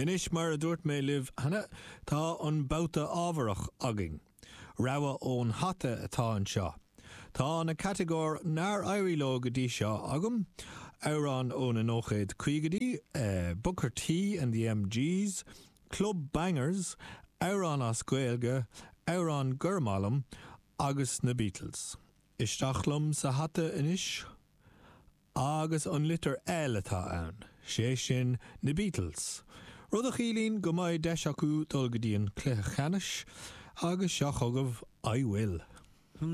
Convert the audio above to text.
Anois, mar a dúirt mé libh cheana, tá an babhta ábharach againn. Rogha ón hata atá anseo. Tá na catagóir nár éirigh leo go dtí seo agam, amhráin ó na nóchaid caogaidí, Booker T and the MGs, Club Bangers, amhráin as Gaeilge, amhrán gur maith liom, agus na Beatles. Isteach liom sa hata anois. Agus an litir L atá ann, sé sin na Beatles. Rud a chiallaíonn go mbeidh deis acu dul go dtí an cluiche ceannais, agus seo chugaibh I Will.